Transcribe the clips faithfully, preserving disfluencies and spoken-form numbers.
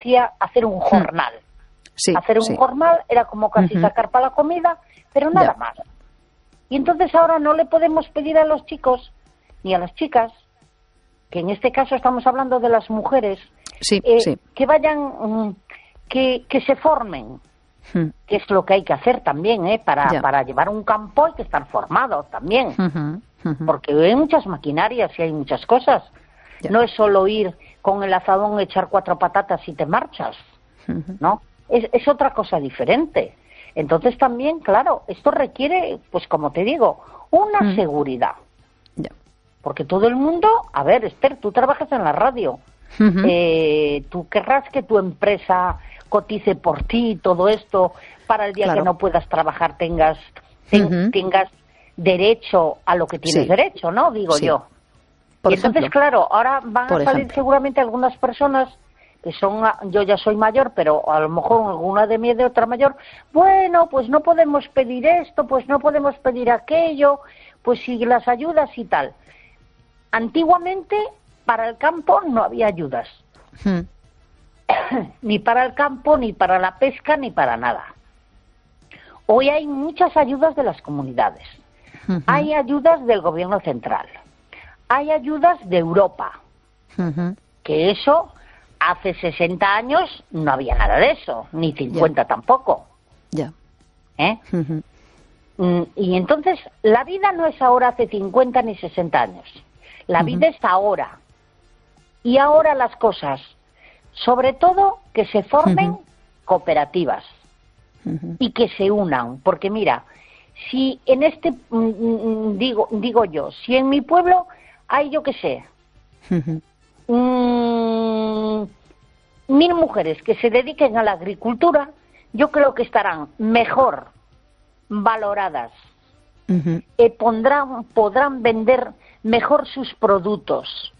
hacía hacer un jornal. Sí, hacer un sí. jornal era como casi Uh-huh. sacar para la comida, pero nada Ya. más. Y entonces ahora no le podemos pedir a los chicos ni a las chicas, que en este caso estamos hablando de las mujeres, Sí, eh, sí. que vayan, mm, que, que se formen, Hmm. que es lo que hay que hacer también, ¿eh? Para, Ya. para llevar un campo hay que estar formado también, Ujú, ujú. porque hay muchas maquinarias y hay muchas cosas. Ya. No es solo ir con el azadón, echar cuatro patatas y te marchas, Ujú. ¿no? Es, es otra cosa diferente. Entonces también, claro, esto requiere, pues como te digo, una Mm. seguridad. Ya. Porque todo el mundo, a ver, Esther, tú trabajas en la radio, Ujú. eh, tú querrás que tu empresa cotice por ti y todo esto, para el día Claro. que no puedas trabajar tengas, ten- Ujú. tengas derecho a lo que tienes Sí. derecho, ¿no? Digo Sí. yo. Por y entonces, ejemplo. claro, ahora van Por a salir ejemplo. seguramente algunas personas que son, a- yo ya soy mayor, pero a lo mejor alguna de mí es de otra mayor, bueno, pues no podemos pedir esto, pues no podemos pedir aquello, pues si las ayudas y tal. Antiguamente, para el campo no había ayudas, Hmm. ni para el campo, ni para la pesca, ni para nada. Hoy hay muchas ayudas de las comunidades, Ujú. hay ayudas del gobierno central, hay ayudas de Europa, Ujú. que eso hace sesenta años no había nada de eso, ni cincuenta tampoco, Ya. ¿eh? Ujú. Mm, Y entonces la vida no es ahora hace cincuenta ni sesenta años, la Ujú. vida es ahora, y ahora las cosas, sobre todo que se formen Ujú. cooperativas Ujú. y que se unan, porque mira, si en este, mm, mm, digo, digo yo, si en mi pueblo hay, yo qué sé, Ujú. Mm, mil mujeres que se dediquen a la agricultura, yo creo que estarán mejor valoradas, Ujú. eh, pondrán, podrán vender mejor sus productos,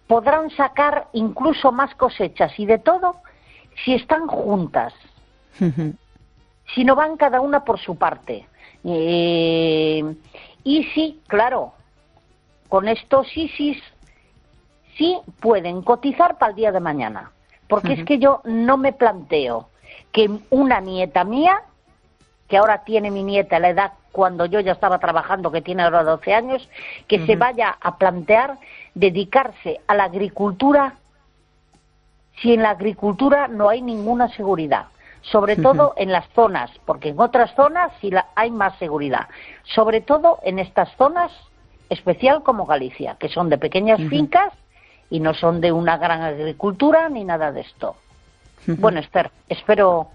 podrán sacar incluso más cosechas y de todo si están juntas, Ujú. si no van cada una por su parte. Eh, y sí, claro, con estos ISIS sí pueden cotizar para el día de mañana, porque Ujú. es que yo no me planteo que una nieta mía, que ahora tiene mi nieta la edad cuando yo ya estaba trabajando, que tiene ahora doce años, que Ujú. se vaya a plantear dedicarse a la agricultura si en la agricultura no hay ninguna seguridad, sobre Ujú. todo en las zonas, porque en otras zonas sí la, hay más seguridad, sobre todo en estas zonas especial como Galicia, que son de pequeñas Ujú. fincas y no son de una gran agricultura ni nada de esto. Ujú. Bueno, Esther, espero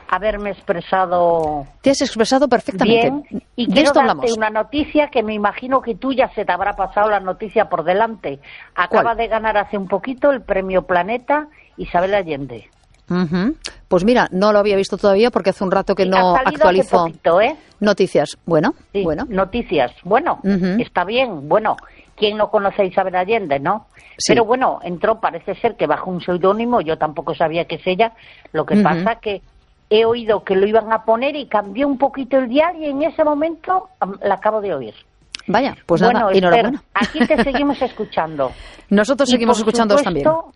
haberme expresado Te has expresado perfectamente. bien y De quiero esto darte hablamos. una noticia que me imagino que tú ya se te habrá pasado la noticia por delante. Acaba ¿Cuál? de ganar hace un poquito el premio Planeta Isabel Allende. Ujú. Pues mira, no lo había visto todavía porque hace un rato que Sí, no ha salido actualizo hace poquito, ¿eh? noticias. Bueno, Sí, bueno. noticias. Bueno, Ujú. está bien. Bueno, ¿quién no conoce a Isabel Allende, no? Sí. Pero bueno, entró, parece ser que bajo un seudónimo, yo tampoco sabía que es ella. Lo que Ujú. pasa que he oído que lo iban a poner y cambió un poquito el dial y en ese momento am, la acabo de oír. Vaya, pues bueno, nada, Esther, enhorabuena. aquí te seguimos escuchando. Nosotros Y, seguimos por escuchándoos también. supuesto,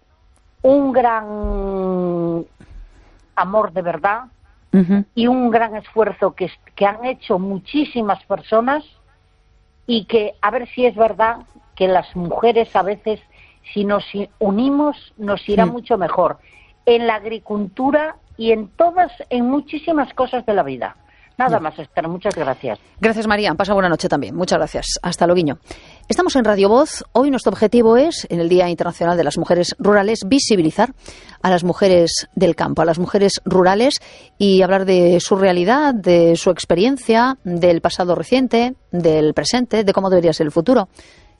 un gran amor de verdad Ujú. y un gran esfuerzo que, que han hecho muchísimas personas y que a ver si es verdad que las mujeres a veces si nos unimos nos irá Mm. mucho mejor en la agricultura y en todas, en muchísimas cosas de la vida. Nada Ya. más, Esther, muchas gracias. Gracias, María. Pasa buena noche también. Muchas gracias. Hasta luego. Estamos en Radio Voz. Hoy nuestro objetivo es, en el Día Internacional de las Mujeres Rurales, visibilizar a las mujeres del campo, a las mujeres rurales y hablar de su realidad, de su experiencia, del pasado reciente, del presente, de cómo debería ser el futuro.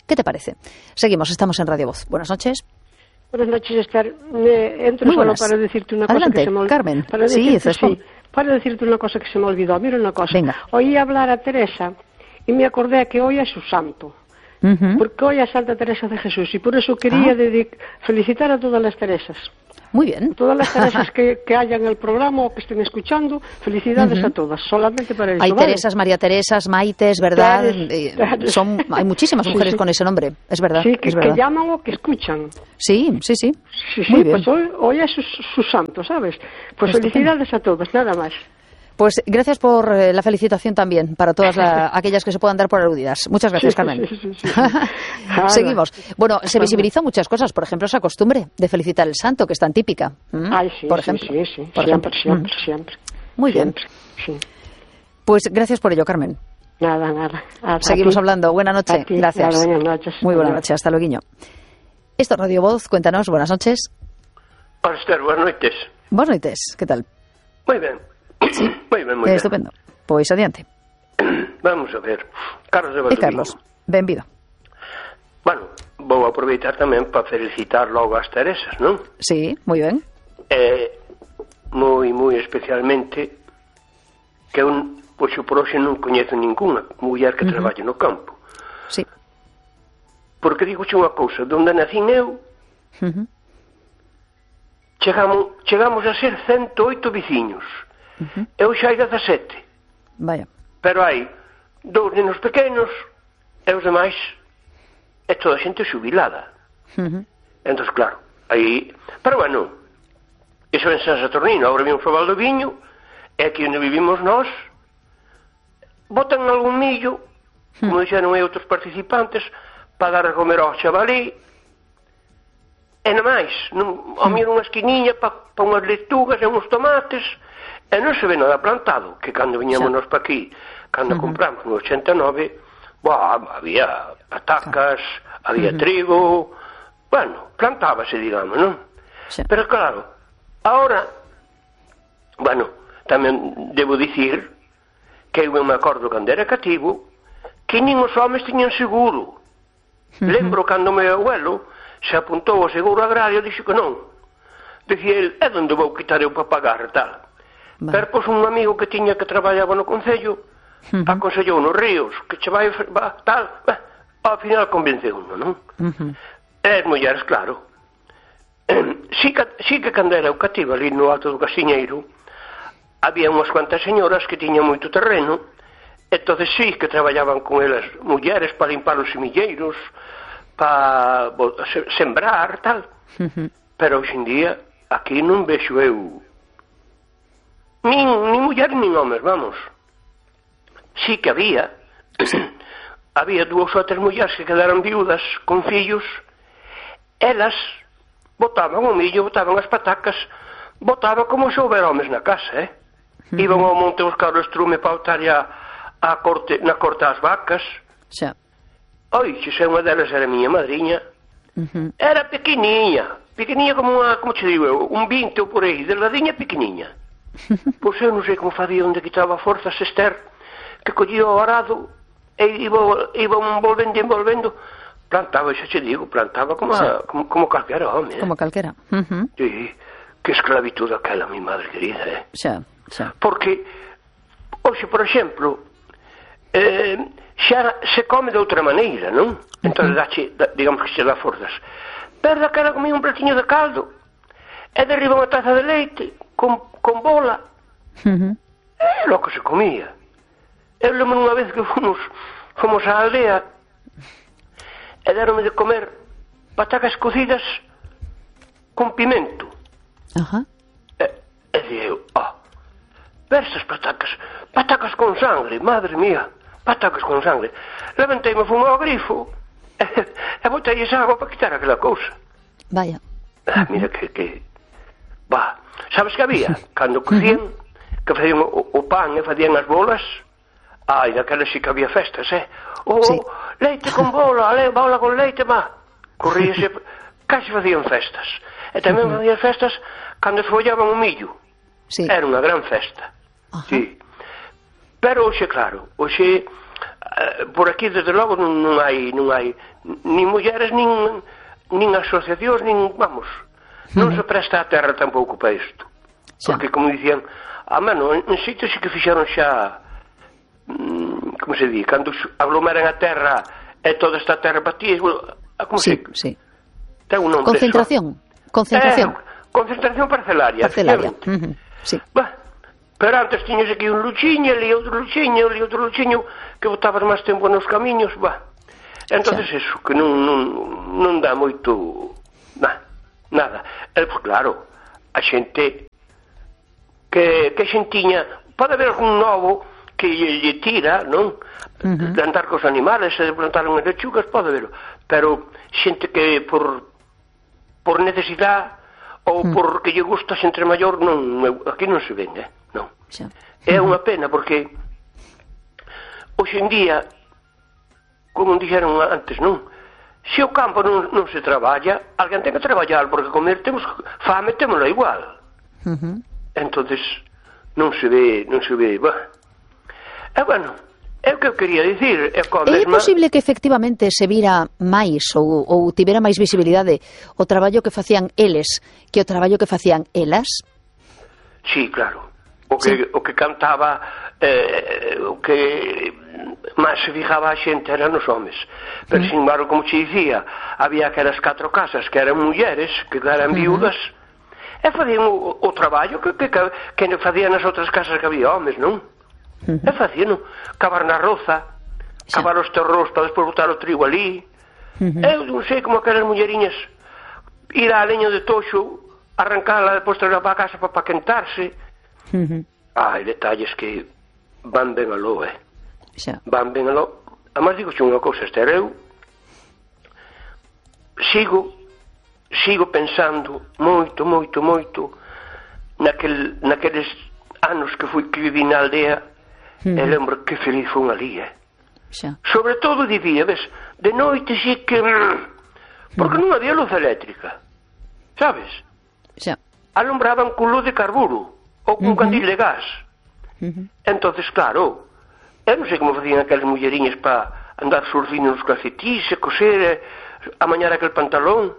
¿Qué te parece? Seguimos. Estamos en Radio Voz. Buenas noches. Buenas noches, Esther. Me entro Muy solo buenas. para decirte una Adelante, cosa que se me olvidó. Carmen. Para Sí, decirte, Cespo. sí, para decirte una cosa que se me olvidó. Mira una cosa. Venga. Oí hablar a Teresa y me acordé que hoy es su santo. Ujú. Porque hoy es Santa Teresa de Jesús y por eso quería Ah. dedic- felicitar a todas las Teresas. Muy bien. Todas las Teresas que, que haya en el programa o que estén escuchando, felicidades uh-huh. a todas, solamente para eso. Hay ¿vale? Teresas, María Teresas, Maites, ¿verdad? Teres, Teres. Son, hay muchísimas mujeres sí, sí. con ese nombre, es verdad. Sí, que, es verdad. que llaman o que escuchan. Sí, sí, sí. Sí, sí, Muy bien. pues hoy, hoy es su, su santo, ¿sabes? Pues Estupendo. Felicidades a todas, nada más. Pues gracias por eh, la felicitación también para todas la, aquellas que se puedan dar por aludidas. Muchas gracias, sí, Carmen. Sí, sí, sí, sí. Seguimos. Bueno, se visibilizan muchas cosas, por ejemplo, esa costumbre de felicitar el santo, que es tan típica. ¿Mm? Ay, sí, por sí, ejemplo. sí, sí. Por siempre, ejemplo. siempre, ¿Mm? siempre. Muy siempre, bien. Sí. Pues gracias por ello, Carmen. Nada, nada. A, Seguimos a hablando. Buenas noches. Gracias. Nada, buenas noches. Muy buenas noches. Hasta luego. Esto es Radio Voz. Cuéntanos. Buenas noches. Hola, Esther. Buenas noches. Buenas noches. ¿Qué tal? Muy bien. Sí. Muy bien, muy eh, bien. Estupendo. Pois adiante. Vamos a ver. Carlos de E Carlos, benvido. Bueno, vou aproveitar tamén para felicitar logo as Teresas, non? Sí, moi ben. Eh, moi, moi especialmente que un, pois por hoxe non coñezo ninguna muller que uh-huh. traballe no campo. Sí. Porque digo xe unha cousa, donde nacín eu, uh-huh. chegamos, chegamos a ser ciento oito veciños. Uh-huh. Eu xa hai dezasete. Vaya. Pero hai dous nenos pequenos e os demais é toda a xente xubilada. Uh-huh. Entón, claro, aí... Pero bueno, iso en San Saturnino, agora vimos o Valdoviño, e aquí onde vivimos nós, botan algún millo, uh-huh. como dixeron aí outros participantes, para dar a comer ao chavalí, e na máis, non, ao miro unha esquiniña para pa unhas leitugas e uns tomates... E non se ve nada plantado, que cando viñamos nos pa aquí, cando uh-huh. compramos no ochenta e nove, bah, había patacas, claro. había uh-huh. trigo, bueno, plantábase, digamos, non? Sí. Pero claro, ahora, bueno, tamén debo dicir que eu me acordo cando era cativo, que nin os homes tiñan seguro. Uh-huh. Lembro cando meu abuelo se apuntou ao seguro agrario, dixo que non. Dicía el, é onde vou quitar eu para pagar, tal. Vale. Pero, pois, un amigo que tiña que traballaba no Concello uh-huh. aconsellou nos ríos que che vai, va, tal, bah, ao final convenceu uno, non? Uh-huh. E as mulleres, claro, eh, sí, que, sí que cando era eu cativo ali no alto do Casiñeiro había unhas cuantas señoras que tiñan moito terreno, entonces sí que traballaban con elas mulleres para limpar os semilleiros, para sembrar, tal. Uh-huh. Pero hoxe en día aquí non vexo eu nin, nin mulleres nin homes, vamos. Sí que había había dúas ou tres mulleres que quedaron viudas con fillos, elas botaban o millo, botaban as patacas, botaban como se houbera homes na casa, eh? Uh-huh. Iban ao monte buscar o estrume para botar a, a corte, na corte as vacas. Xa. Oi, se unha delas era miña madriña, uh-huh. era pequeniña, pequeniña como unha, como che digo eu, un vinte ou por aí, delgadiña pequeniña. Pois eu non sei como facía onde quitaba forzas Esther, que collía o arado e iba, iba envolvendo e envolvendo, plantaba, xa che digo, plantaba como, a, como, como calquera home, eh? Como calquera. Uh-huh. Sí, que esclavitud aquela, mi madre querida, eh? Xa, xa. Porque, hoxe, por exemplo, eh, xa se come de outra maneira, non? Entón, uh-huh. dache, da, digamos que se dá forzas. Pero daquela comía un platiño de caldo e derriba unha taza de leite con, con bola. Uh-huh. É lo que se comía. Eu lembro unha vez que fomos fomos á aldea e deronme de comer patacas cocidas con pimento. Ajá. E, e dixo eu, oh, versas patacas, patacas con sangre, madre mía, patacas con sangre. Levanteime, fui ao grifo e, e botei esa agua para quitar aquela cousa. Vaya. Ah, mira que, que... Va, sabes que había? Cando cocían, que facían o, o pan e facían as bolas, ai, daquelas sí que había festas, eh? Oh, sí. Leite con bola, le, bola con leite, ma. Corríase, casi facían festas. E tamén uh-huh. facían festas cando se follaban o millo. Sí. Era unha gran festa. Uh-huh. Sí. Pero hoxe, claro, hoxe, uh, por aquí, desde logo, non, non hai, non hai nin mulleres, nin, nin asociacións, nin, vamos... Non se presta a terra tampouco para isto. Porque, como dicían, a mano, en sitio sí que fixeron xa, mm, como se di, cando aglomeran a terra e toda esta terra para ti, como sí, se... Sí. Ten un nombre. Concentración. Concentración. Eh, Concentración parcelaria. Parcelaria. Uh-huh. Sí. Bah, pero antes tiñes aquí un luchiño, ali outro luchiño, ali outro luchiño, que botabas máis tempo nos camiños, bah. Entonces sí. Eso, que non, non, non dá moito... Nah, nada. E, pues, claro, a xente que, que xentiña... Pode haber algún novo que lle, lle tira, non? Uh-huh. De andar cos animales, de plantar unhas lechugas, pode haber. Pero xente que por, por necesidade ou uh-huh. porque lle gusta a xente maior, non, aquí non se vende, non. Sí. É unha pena, porque hoxe en día, como dixeron antes, non? Se o campo non, non se traballa, alguén ten que traballar, porque comer temos fame, témola igual. Uh-huh. Entonces non se ve, non se ve, bah. E bueno, é o que eu quería dicir. É, é mesma... posible que efectivamente se vira máis ou, ou tivera máis visibilidade o traballo que facían eles que o traballo que facían elas? Sí, claro. O que, sí. o que cantaba, eh, o que máis se fijaba a xente eran os homes. Pero, uh-huh. sin embargo, como te dicía, había aquelas catro casas que eran mulleres, que eran viudas, uh-huh. e facían o, o traballo que, que, que facían nas outras casas que había homes, non? Uh-huh. E facían, cavar na roza, sí. cavar os terros para despois botar o trigo ali. Uh-huh. Eu non sei como aquelas mulleriñas ir á leña de toxo, arrancala, depois traer para a casa para, para quentarse. Uh-huh. Hai detalles que van ben aló, eh? Xa. Van ben aló. Además, digo unha cousa, Esther, eu sigo sigo pensando moito, moito, moito naquel, naqueles anos que fui que viví na aldea. Uh-huh. E lembro que feliz fun ali, eh? Xa. Sobre todo de día, ves, de noite sí que... Porque uh-huh. non había luz eléctrica, sabes? Xa. Alumbraban con luz de carburo ou con uh-huh. candil de gas. Uh-huh. Entonces, claro, eu non sei como facían aquelas mulleriñas para andar surcindo nos calcetís e coser, amañar aquel pantalón.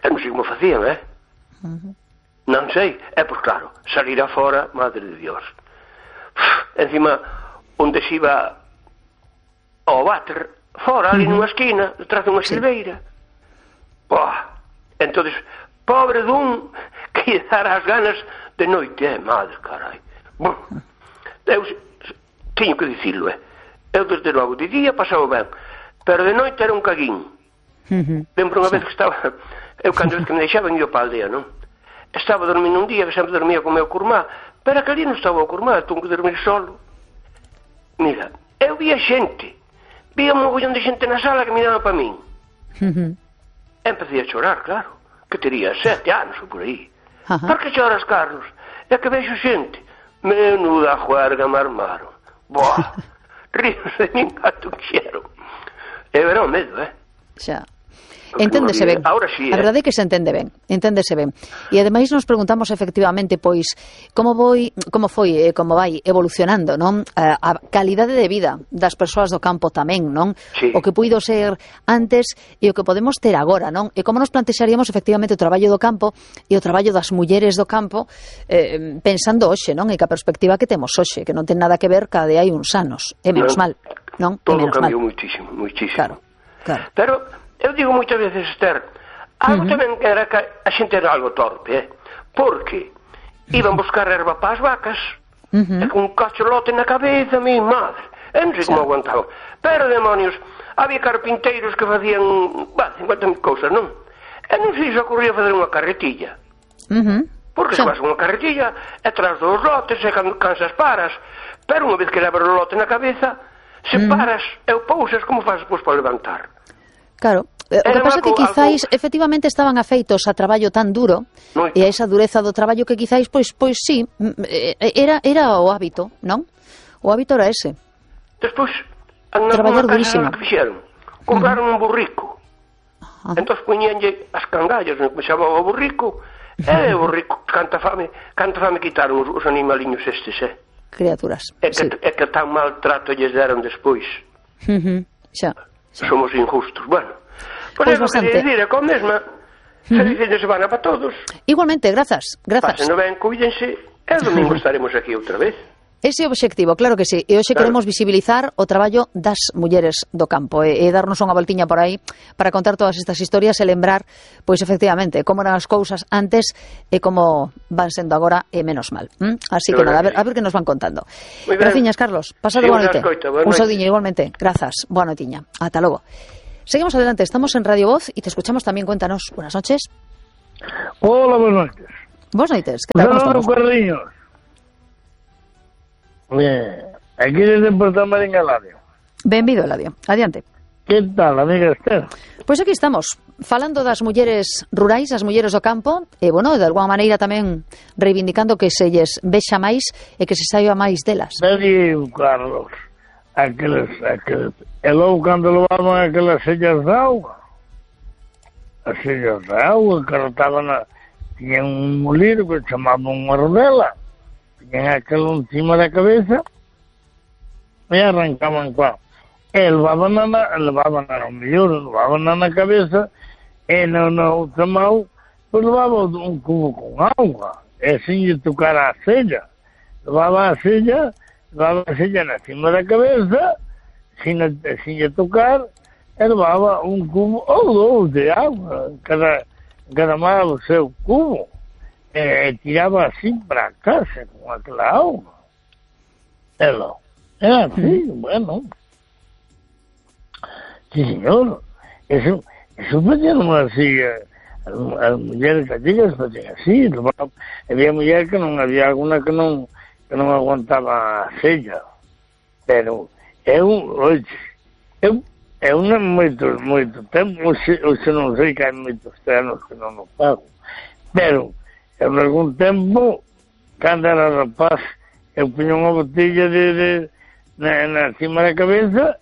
Eu non sei como facían, eh? Uh-huh. Non sei. É, pois claro, salir afora, madre de Dios. Uf, encima, onde se iba ao váter, fora, ali uh-huh. nunha esquina, detrás dunha sí. silveira. Boa. Entonces, pobre dun que lle dara as ganas de noite, eh, madre, carai. Bom, eu teño que dicirlo, eh. Eu, desde logo, de día pasaba ben, pero de noite era un caguín. Uh-huh. Lembro unha sí. vez que estaba... Eu, cando que me deixaban, ia para a aldea, non? Estaba dormindo un día, que sempre dormía con o meu curmá, pero aquel día non estaba o curmá, tuve que dormir solo. Mira, eu via xente, via un mogollón de xente na sala que miraba para min. Uh-huh. Empecé a chorar, claro, que tería sete anos ou por aí. Uh-huh. Por que choras, Carlos? É que vexo xente. Menuda juerga me armaron. Boa, ríos de min gato quixeron. E verá o medo, eh? Xa. Enténdese ben. Ahora sí, eh? A verdade é que se entende ben, enténdese ben. E ademais nos preguntamos efectivamente, pois, como foi, como foi, eh, como vai evolucionando, non? A, a calidade de vida das persoas do campo tamén, non? Sí. O que puido ser antes e o que podemos ter agora, non? E como nos plantexaríamos efectivamente o traballo do campo e o traballo das mulleres do campo eh, pensando hoxe, non? E que a perspectiva que temos hoxe, que non ten nada que ver ca de hai uns anos, é menos non, mal, non? Todo menos cambiou mal. muitísimo, muitísimo. Claro, claro. Pero eu digo moitas veces, Esther, algo uh-huh. tamén era que a xente era algo torpe, eh? Porque iban buscar erva para as vacas, uh-huh. e con un cacholote na cabeza, mi madre, eu non sei como aguantaban. Pero, demonios, había carpinteiros que facían, bah, cincuenta mil cousas, non? E non sei se ocurría fazer unha carretilla. Uh-huh. Porque se faz unha carretilla, e tras dos lotes, e cando cansas paras, pero unha vez que levas o lote na cabeza, se uh-huh. paras e o pousas, como faz depois para levantar? Claro, o que pasa é que quizáis algo... efectivamente estaban afeitos a traballo tan duro Moito. E a esa dureza do traballo que quizáis, pois, pois sí, era, era o hábito, non? O hábito era ese. Despois, traballar durísimo. Que fixeron? Compraron uh-huh. un burrico. Uh-huh. Entón poñíanlle as cangallas, non que chamaba o burrico, e o burrico, canta fame, canta fame quitaron os, os animaliños estes, eh? Criaturas, é que, sí. É que tan mal trato lles deron despois. Uh-huh. Xa. Sí. Somos injustos. Bueno, por pues eso quería decir, é con mesma. Feliz fin de semana para todos. Igualmente, grazas, grazas. Pásenlo ben, cuídense, e o domingo estaremos aquí outra vez. Ese obxectivo, claro que sí. E hoxe Claro. queremos visibilizar o traballo das mulleres do campo e, e darnos unha voltiña por aí para contar todas estas historias e lembrar, pois efectivamente, como eran as cousas antes e como van sendo agora e menos mal. ¿Mm? Así De que nada, a ver, verdade. a ver que nos van contando. Moi ben. Graciñas, Carlos. Pasado Sí, boa unha noite. escoita, boa Un noite. saudiño igualmente. Grazas. Boa noitiña. Ata logo. Seguimos adelante. Estamos en Radio Voz y te escuchamos también. Cuéntanos. Buenas noches. Hola, buenas noches. Buenas noches. ¿Qué tal? ¿Cómo Saludos, estamos? Carliños. Bien, aquí desde Puerto Marín Eladio. Benvido, Eladio. Adiante. ¿Qué tal, amiga Esther? Pois aquí estamos, falando das mulleres rurais, as mulleres do campo, e, bueno, de alguma maneira tamén reivindicando que se lles vexa máis e que se saiba máis delas. Nadie, Carlos, aqueles, aqueles, e logo cando levaban aquelas sellas de auga, as sellas de auga, que rotaban a, tiñan un molino que chamaban unha rodela, tiñan aquelo encima da cabeza, e arrancaban coa, e levaban na, levaban na, mellor, levaban na cabeza, e na, na outra mão, pois levaba un cubo con auga, e sin lle tocar a sella, levaba a sella, levaba a sella na cima da cabeza, sin, sin lle tocar, e levaba un cubo ou dous de auga, cada, cada mal o seu cubo, e, e tiraba así para casa con aquela auga. Ela, era así, bueno. Sí, señor. Eso, eso facían así, eh, as, as mulleres gallegas facían así. Había mulleres que non, había alguna que non, que non aguantaba a sella. Pero eu, oye, eu, eu non moito, moito tempo, oxe, oxe non sei que hai moitos anos que non o pago. Pero, en algún tempo, cando era rapaz, eu puño unha botella de, de na, na cima da cabeza,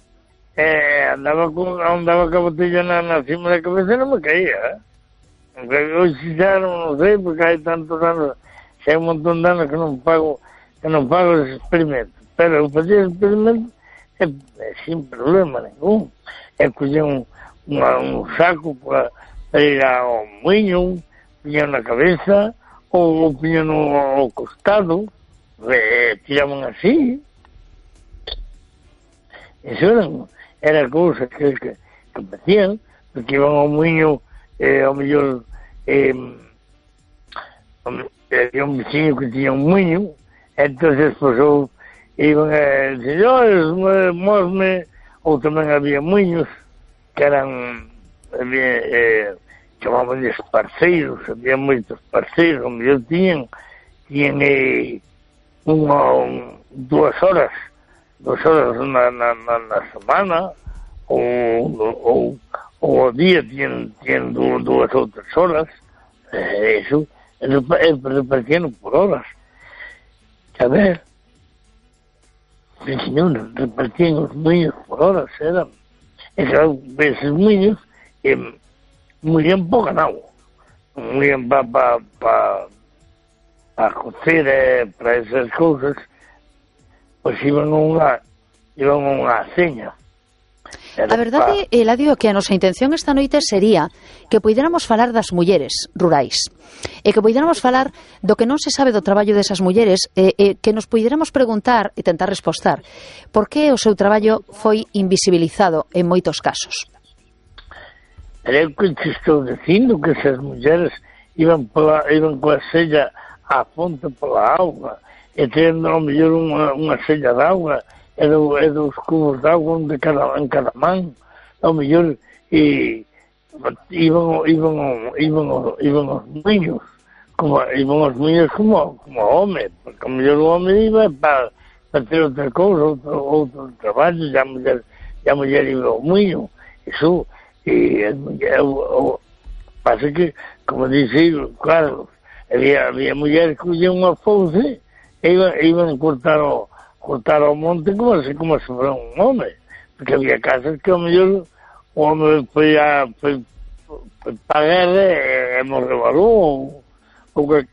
e andaba con, andaba con a botella na, na cima da cabeza e non me caía, eh? Hoxe xa non sei, porque hai tantos anos, xa hai un montón de anos que non pago, que non pago ese experimento. Pero eu facía ese experimento e, e sin problema ningún. E collía un, unha, un saco para, para ir ao muiño, puña na cabeza, ou puña no ao costado, e tiraban así. Eso eran, era cousas que, que, que facían, porque iban ao muiño, eh, ao mellor, eh, había un veciño que tiña un muiño, entonces, pues, eu, iban a señores, mosme, ou tamén había muiños, que eran, había, eh, chamaban de parceiros, había moitos parceiros, ao mellor tiñan, tiñan, eh, unha, un, dúas horas, dúas horas na, na, na, na semana, ou, ou, ou ao día tiñan, tiñan dúas ou tres horas, eh, eso, repartían por horas. A ver, sí, señor, repartían os muiños por horas, eran, e claro, esos muiños, eh, muían po ganado, muían pa, pa, pa, a cocer, eh, para esas cousas, pois iban a unha, iban a unha seña. A verdade, Eladio, que a nosa intención esta noite sería que poidéramos falar das mulleres rurais e que poidéramos falar do que non se sabe do traballo desas mulleres e, e que nos poidéramos preguntar e tentar respostar por que o seu traballo foi invisibilizado en moitos casos. Era o que te estou dicindo, que esas mulleres iban, pola, iban coa sella á fonte pola auga e tendo ao mellor unha, unha sella de auga e, do, e dos cubos de auga de cada, en cada man, ao mellor e iban, iban, iban, iban os niños, como, iban os niños como, como home, porque ao mellor o home iba para, para ter outra cousa, outro, outro traballo, e a muller, e a muller iba ao niño, iso, e o, o, pasa que, como dice Carlos, había, había mulleres que collían unha fouce e iban, iban cortar o cortar ao monte como se, como se fora un home, porque había casas que ao mellor o home foi a foi, foi para a guerra e, e morreu aló, ou, ou que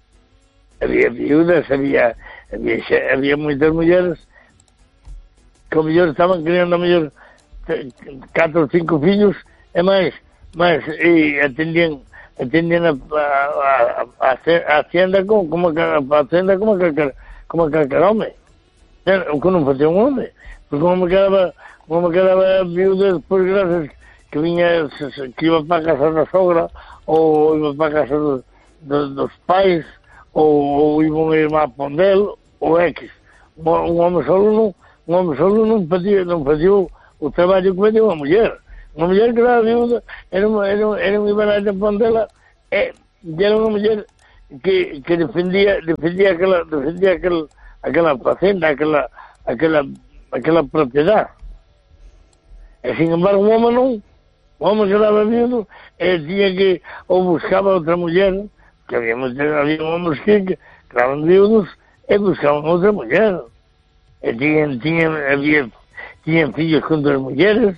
había viudas, había había, había moitas mulleres que ao mellor estaban criando ao mellor catro ou cinco fillos e máis, máis e atendían atendían a, a, a, a hacienda como, como a hacienda como a, como a calcar home. o que non facía un home, porque como me quedaba, como me quedaba viuda despois gracias que viña, que iba para a casa da sogra, ou iba para a casa do, do, dos pais, ou, ou iba unha irmá a Pondel, ou X. Un, un home solo non, un home solo non facía, non facía o, o traballo que facía unha muller. Unha muller que era viuda, era unha, era, era unha ibarata Pondela, e era unha muller que, que defendía, defendía aquela, defendía aquel, aquela facenda, aquela, aquela, aquela propiedade. E, sin embargo, un home non, o home que daba viudo, e tiña que, ou buscaba outra muller, que había, había homens que, que daban viudos, e buscaban outra muller. E tiñan, tiñan, había, tiñan fillos con duas mulleres,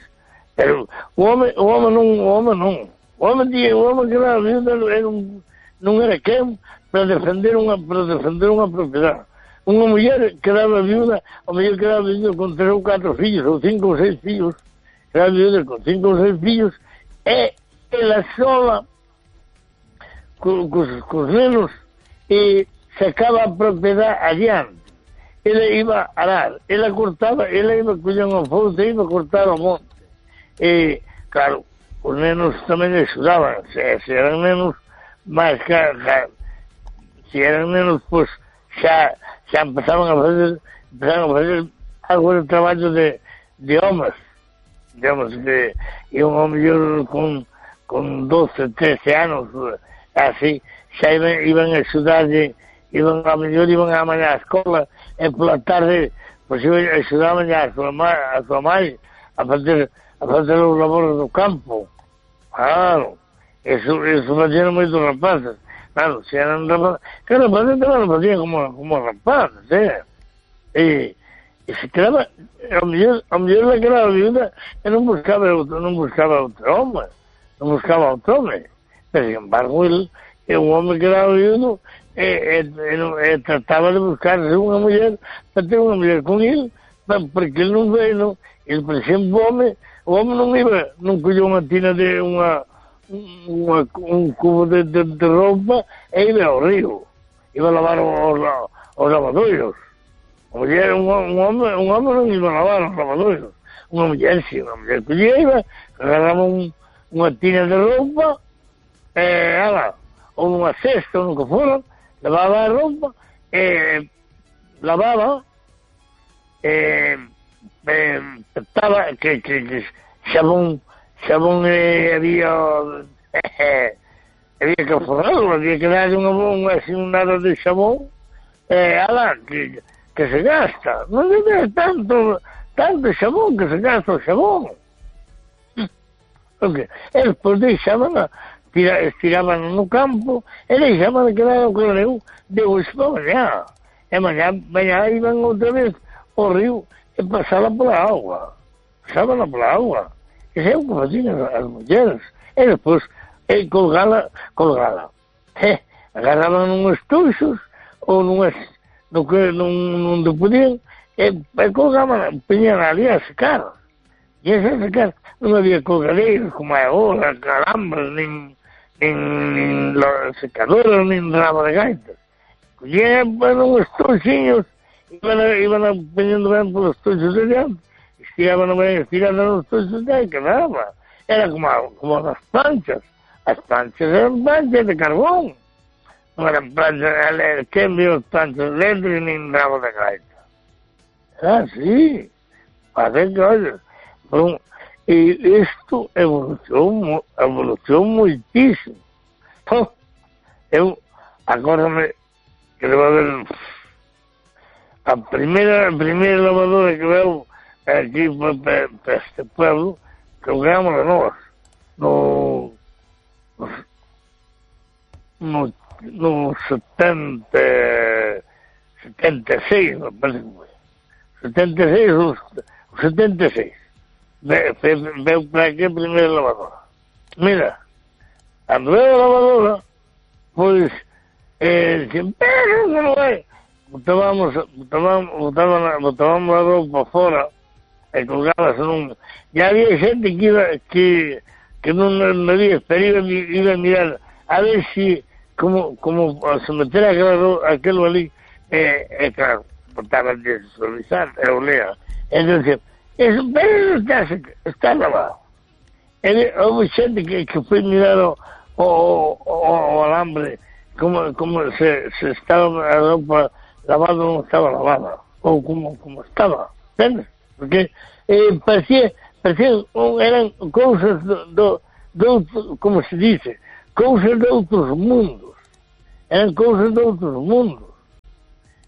pero o home, o home non, o home non. O home tiña, o home que daba viudo era un, non era quen para defender unha, para defender unha propiedade. Unha muller que daba viuda, a muller que daba viuda con tres ou catro fillos, ou cinco ou seis fillos, que daba viuda con cinco ou seis fillos, e ela sola, cos, cos nenos, e sacaba a propiedade adiante. Ela iba a arar, ela cortaba, ela iba a coller unha fouta e iba a cortar o monte. E, claro, os nenos tamén axudaban, se, se eran nenos máis que, que se eran nenos, pois, xa, xa empezaban a fazer, empezaban a fazer algo de traballo de, de homes, de homes que iban ao mellor con, con doce, trece anos, así, xa iban, iban a axudarlle, iban ao mellor, iban a mañá á escola, e pola tarde, pois iban a axudaban a súa mãe, a súa mãe a fazer, a fazer os labores do campo. Claro, eso, eso facían moitos rapazes. Claro, se eran rapazes, que rapazes tamén lo facían como, como rapazes, eh? E, e se quedaba, ao mellor, ao mellor la quedaba viuda, e non buscaba outro, non buscaba outro home, non buscaba outro home. Pero, sin embargo, el, e un home que era viudo, e, e, e, e trataba de buscarse unha muller para ter unha muller con ele, porque ele non veio, non. Ele, por exemplo, o home, o home non iba, non colleu unha tina de unha, unha un cubo de, de, de roupa e iba ao río, iba a lavar os, os lavadoiros. A muller, un, un home, un home non iba a lavar os lavadoiros. Unha muller, si, unha muller collía, iba, agarraba un, unha tina de roupa, e, ala, ou nunha cesta, ou nunca fora, lavaba a roupa, e lavaba, e, e estaba, que, que, que xabón, xabón eh, había, eh, había que forrarlo, había que dar unha, unha, así, un nada de xabón, e, ala, que, que se gasta, non debe tanto, tanto xabón, que se gasta o xabón. Okay. E despois deixaban a, tira, estiraban no campo e deixaban que era o que eu deu isto para mañá. E mañá, mañá iban outra vez ao río e pasaban pola agua. Pasaban pola agua. E é o que facían as, as mulleres. E despois, e colgala, colgala. E agarraban uns tuxos ou nunhas, no que non, non te podían, e, e colgaban, peñan ali a secar. E esa secar, non había colgadeiros como é agora, calambres, nin, nin, nin secadoras, nin rama de gaitas. Collían uns tuxiños, iban, iban a peñando ben polos tuxos de diante, estiraban ben, estiraban os tuxos de aí, quedaba. Era como, como as planchas. As planchas eran planchas de carbón. Non eran planchas, que envió as planchas eléctricas nin rama de gaita. Era así. Fazer que, olha, Bom, e isto evolucionou, evolucionou muitíssimo. Então, eu agora me quero ver a primeira, a primeira lavadora que veio aqui para, para este pueblo, que jogamos a nós no, no, no setenta, setenta e seis, me parece que foi. setenta e seis ou setenta e seis. Veio para aqui a primeira lavadora. Mira, a primeira lavadora, pois, eh, pero não é. Botávamos, botávamos, botávamos, botávamos a roupa fora e colgava-se num... E havia gente que iba, que, que não, não havia, pero iba, iba a mirar a ver se, como, como se meter aquela, aquilo ali, é, é claro, portaba de suavizar, eu lea. Entonces, eso, pero está, está lavado. E houve xente que, que foi mirar o, o, o, o alambre, como, como se, se estaba a roupa lavada ou non estaba lavada, ou como, como estaba, entendes? Porque eh, parecía, parecía, eran cousas do, do, do, como se dice, cousas de outros mundos, eran cousas de outros mundos.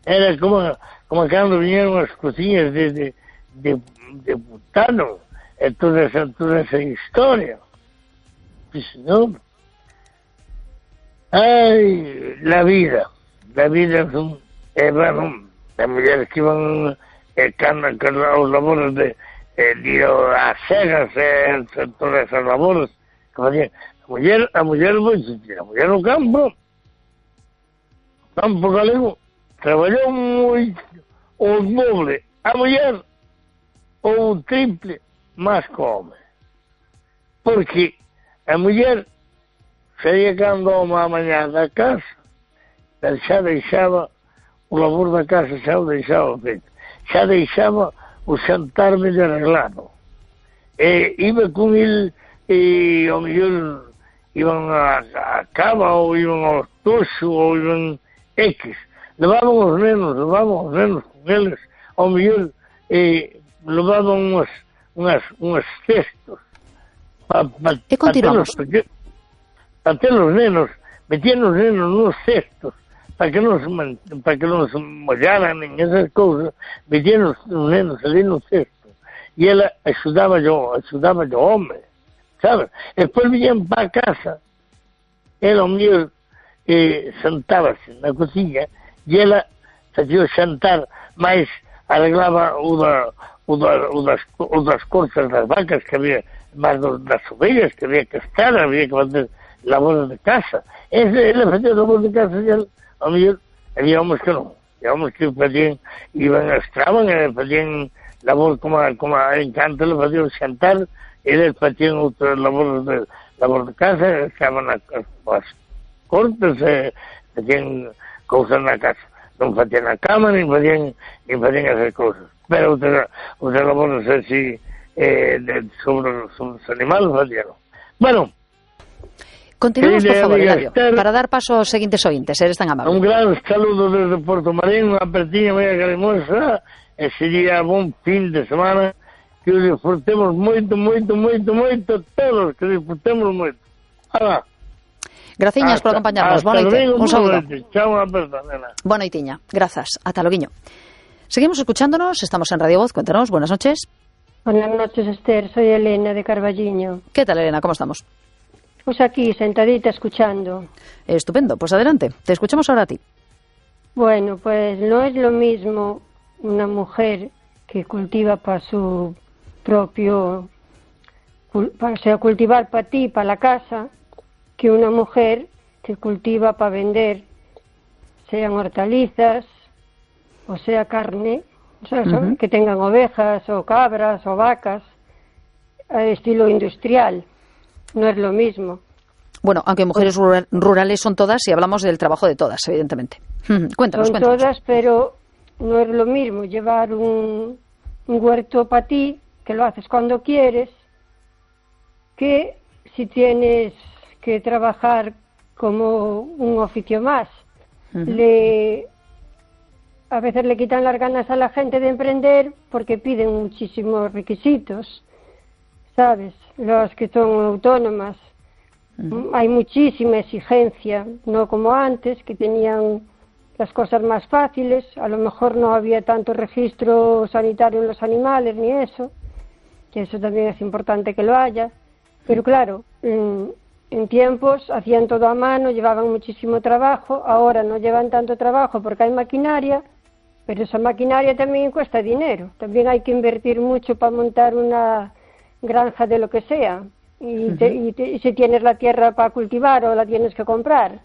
Era como, como cando viñeron as cociñas de, de, de, de Butano, e toda esa, toda esa historia. Sí, señor. Ai, la vida, la vida son, eh, bueno, as mulleres que iban eh, cando, cando os labores de eh, de as cegas, eh, todas esas labores que facían. A muller, a muller, a muller no campo, campo galego, traballou moito, o doble, a muller, ou o triple, máis que o home. Porque a muller saía cando o home a mañá da casa, xa deixaba o labor da casa, xa o deixaba feito, xa deixaba o xantar medio arreglado. E iba con il, e o mellor iban a, a cava, ou iban ao toxo, ou iban X. Levaban os nenos, levaban os nenos con eles, ao mellor e levaban unhas, unhas, unhas cestos para pa, e continuamos para ter, pa ter os nenos, metían os nenos nos cestos para que non se, para que non se mollaran nin esas cousas, metían os, os nenos ali no cesto e ela axudaba yo, axudaba yo home, sabes? E despois viñan para a casa, ela o mellor eh, sentábase na cociña e ela facía o xantar, máis arreglaba o, da, o, da, o, das, o das corzas das vacas que había, máis das ovellas que había que estar, había que fazer labores de casa. Ese, ela facía labores de casa e ela, ao mellor, había homens que non, había homens que facían, iban a estraban e facían labor como a, como a Encanto, le facían xantar, e eles facían outras labores de, labor de casa, estaban as, as cortes, e facían cousas na casa. Non facían a cama, nin facían, nin facían esas cousas. Pero outras, outras labores así, eh, de, sobre, sobre os animales facían. Bueno, continuamos, por favor, Hilario, para dar paso aos seguintes ointes, eres tan amable. Un gran saludo desde Porto Marín, unha pertiña moi calimosa, e sería bon fin de semana, que o disfrutemos moito, moito, moito, moito, todos, que disfrutemos moito. Alá. Graciñas por acompañarnos. Boa noite. Un saúdo. Chao, unha aperta, nena. Boa noitiña. Grazas. Ata loguiño. Seguimos escuchándonos. Estamos en Radio Voz. Cuéntanos. Buenas noches. Buenas noches, Esther. Soy Elena de Carballiño. ¿Qué tal, Elena? ¿Cómo estamos? Pues aquí, sentadita, escuchando. Estupendo. Pues adelante. Te escuchamos ahora a ti. Bueno, pues no es lo mismo una mujer que cultiva para su propio... o sea, cultivar para ti, para la casa, que una mujer que cultiva para vender, sean hortalizas o sea carne, o sea, uh-huh. que tengan ovejas o cabras o vacas, a estilo industrial. No es lo mismo. Bueno, aunque mujeres rurales son todas, y hablamos del trabajo de todas, evidentemente. Cuéntanos, son cuéntanos. todas, pero no es lo mismo llevar un, un huerto para ti, que lo haces cuando quieres, que si tienes que trabajar como un oficio más. Uh-huh. Le, a veces le quitan las ganas a la gente de emprender porque piden muchísimos requisitos, ¿sabes? Los que son autónomas. Uh-huh. Hay muchísima exigencia, no como antes, que tenían las cosas más fáciles. A lo mejor no había tanto registro sanitario en los animales ni eso, que eso también es importante que lo haya. Pero claro, en, en tiempos hacían todo a mano, llevaban muchísimo trabajo. Ahora no llevan tanto trabajo porque hay maquinaria, pero esa maquinaria también cuesta dinero. También hay que invertir mucho para montar una granja de lo que sea. Y, te, y, te, y si tienes la tierra para cultivar o la tienes que comprar.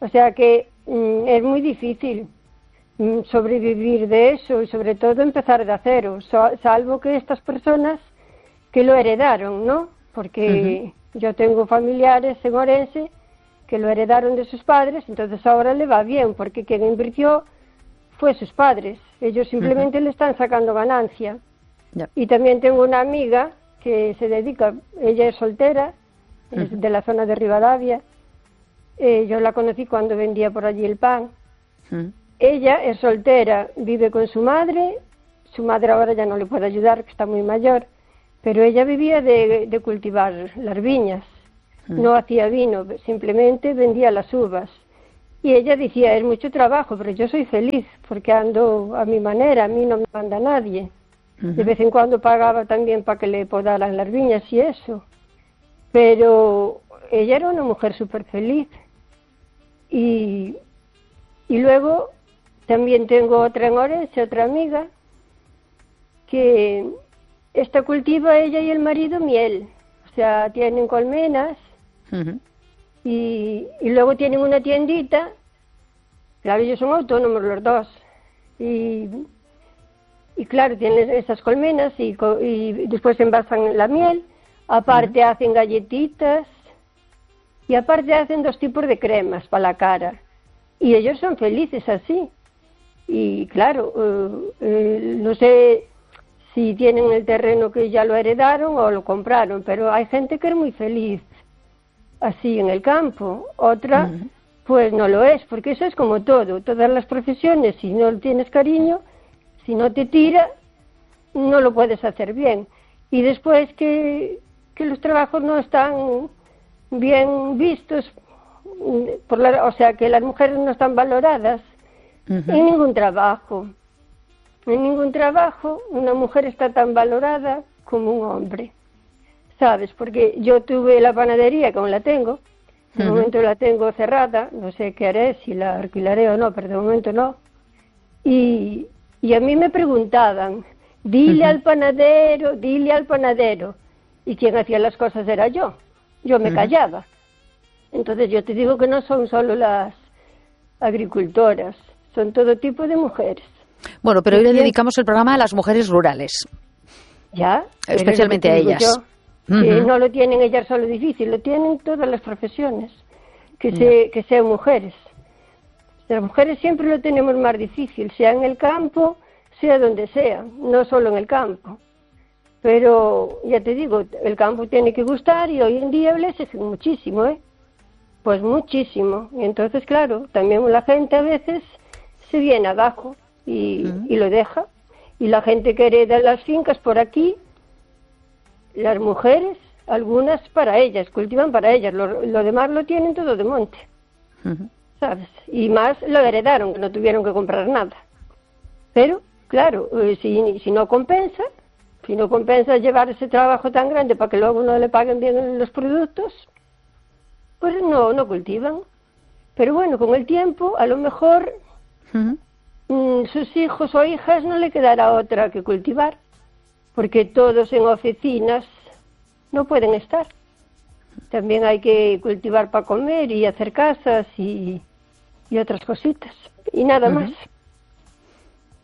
O sea que mm, es muy difícil mm, sobrevivir de eso y sobre todo empezar de cero, so, salvo que estas personas que lo heredaron, ¿no? Porque uh-huh. yo tengo familiares en Orense que lo heredaron de sus padres, entonces ahora le va bien, porque quien invirtió fue sus padres. Ellos simplemente uh-huh. le están sacando ganancia. Yeah. Y también tengo una amiga que se dedica, ella es soltera, uh-huh. es de la zona de Rivadavia. Eh, yo la conocí cuando vendía por allí el pan. Uh-huh. Ella es soltera, vive con su madre. Su madre ahora ya no le puede ayudar, que está muy mayor. Pero ella vivía de, de cultivar las viñas. Uh-huh. No hacía vino, simplemente vendía las uvas. Y ella decía, es mucho trabajo, pero yo soy feliz, porque ando a mi manera, a mí no me manda nadie. Uh-huh. De vez en cuando pagaba también para que le podaran las viñas y eso. Pero ella era una mujer súper feliz. Y, y luego también tengo otra en Orense, otra amiga, que esta cultiva ella y el marido miel. O sea, tienen colmenas. Uh-huh. Y, y luego tienen una tiendita, claro, ellos son autónomos los dos, y, y claro, tienen esas colmenas y, y después envasan la miel, aparte uh-huh. hacen galletitas, y aparte hacen dos tipos de cremas para la cara, y ellos son felices así, y claro, uh, uh, no sé si tienen el terreno que ya lo heredaron o lo compraron, pero hay gente que es muy feliz así en el campo, otra uh-huh. pues no lo es, porque eso es como todo, todas las profesiones, si no tienes cariño, si no te tira, no lo puedes hacer bien. Y después que, que los trabajos no están bien vistos, por la, o sea, que las mujeres no están valoradas uh-huh. en ningún trabajo. En ningún trabajo una mujer está tan valorada como un hombre. ¿Sabes? Porque yo tuve la panadería, como la tengo, de uh-huh. momento la tengo cerrada, no sé qué haré, si la alquilaré o no, pero de momento no. Y, y a mí me preguntaban, dile uh-huh. al panadero, dile al panadero. Y quien hacía las cosas era yo, yo me uh-huh. callaba. Entonces yo te digo que no son solo las agricultoras, son todo tipo de mujeres. Bueno, pero hoy le dedicamos el programa a las mujeres rurales. ¿Ya? Especialmente a ellas. Yo. Que uh-huh. no lo tienen ellas solo difícil, lo tienen todas las profesiones, que, se, que sean mujeres. Las mujeres siempre lo tenemos más difícil, sea en el campo, sea donde sea, no solo en el campo. Pero, ya te digo, el campo tiene que gustar y hoy en día le exigen muchísimo, ¿eh? Pues muchísimo. Y entonces, claro, también la gente a veces se viene abajo y, uh-huh. y lo deja. Y la gente que hereda las fincas por aquí, las mujeres, algunas para ellas, cultivan para ellas, lo, lo demás lo tienen todo de monte, uh-huh. ¿sabes? Y más lo heredaron, que no tuvieron que comprar nada. Pero, claro, eh, si, si no compensa, si no compensa llevar ese trabajo tan grande para que luego no le paguen bien los productos, pues no, no cultivan. Pero bueno, con el tiempo, a lo mejor uh-huh. mmm, sus hijos o hijas no le quedará otra que cultivar. Porque todos en oficinas no pueden estar. También hay que cultivar para comer y hacer casas y, y otras cositas. Y nada uh-huh. más.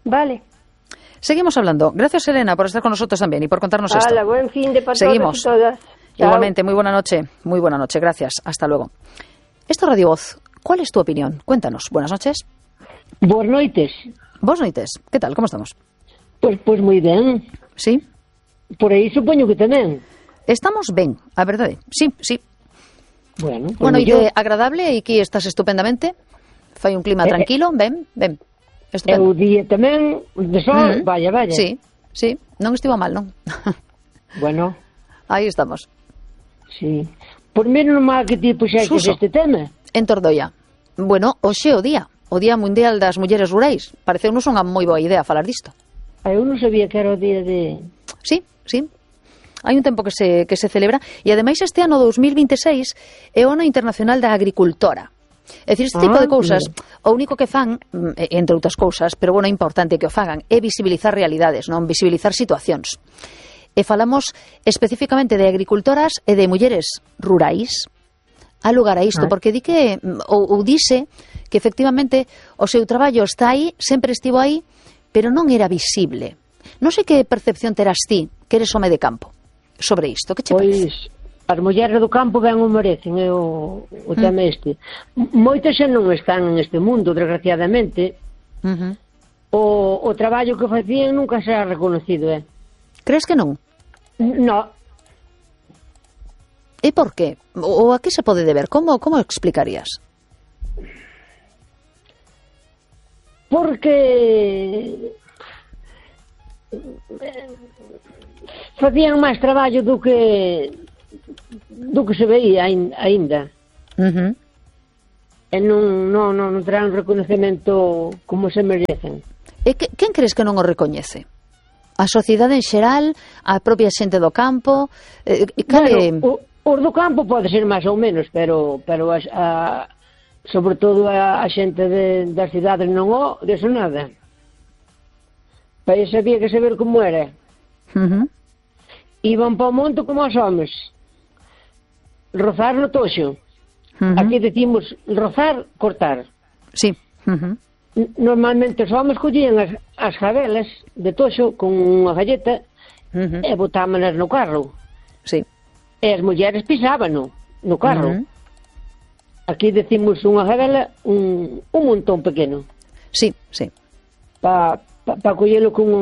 Vale. Seguimos hablando. Gracias, Elena, por estar con nosotros también y por contarnos Hola, esto. Hola, buen fin de para Seguimos. todos y todas. Chao. Igualmente, muy buena noche. Muy buena noche, gracias. Hasta luego. Esto es Radio Voz. ¿Cuál es tu opinión? Cuéntanos. Buenas noches. Buenas noches. Buenas noches. ¿Qué tal? ¿Cómo estamos? Pues, pues muy ben. Sí? Por aí supoño que tamén. Estamos ben, a verdade. Sí, sí. Bueno, pues bueno e yo... de agradable, e aquí estás estupendamente. Fai un clima eh, tranquilo, ben, ben. Estupendo. E o día tamén de sol, uh-huh. vaya, vaya. Sí, sí, non estivo mal, non? Bueno. Aí estamos. Sí. Por menos mal que ti puxaste este tema. En Tordoia. Bueno, hoxe o día. O Día Mundial das Mulleres Rurais. Pareceunos unha moi boa idea falar disto. Ah, eu non sabía que era o día de... Sí, sí. Hai un tempo que se, que se celebra e ademais este ano dos mil veintiséis é o ano internacional da agricultora. É dicir, este tipo ah, de cousas, mira. o único que fan, entre outras cousas, pero bueno, é importante que o fagan, é visibilizar realidades, non visibilizar situacións. E falamos especificamente de agricultoras e de mulleres rurais. Há lugar a isto, ah. porque di que, ou, ou dice que efectivamente o seu traballo está aí, sempre estivo aí, pero non era visible. Non sei que percepción terás ti, que eres home de campo, sobre isto. Que che pois, parece? As mulleres do campo ben o merecen, é o, o tema mm. este. Moitas xa non están neste mundo, desgraciadamente, uh-huh. o, o traballo que facían nunca será reconocido, eh? Crees que non? No. E por qué? O a que se pode deber? Como, como explicarías? Porque facían máis traballo do que do que se veía aínda. Uh-huh. E non, non, non, non terán reconocemento como se merecen. E que, quen crees que non o recoñece? A sociedade en xeral, a propia xente do campo? Eh, cale... Bueno, o, os do campo pode ser máis ou menos, pero, pero a, a, sobre todo a, a xente de, das cidades non o, deso nada. Para iso había que saber como era. Uh-huh. Iban para o monte como os homes. Rozar no toxo. Uh-huh. Aquí decimos rozar, cortar. Sí. Uh-huh. Normalmente os homes collían as, as jabelas de toxo con unha galleta uh-huh. e botámanas no carro. Sí. E as mulleres pisábano no carro. Uh-huh. Aquí decimos unha jabela, un, un montón pequeno. Sí, sí. Para pa, pa collelo con unha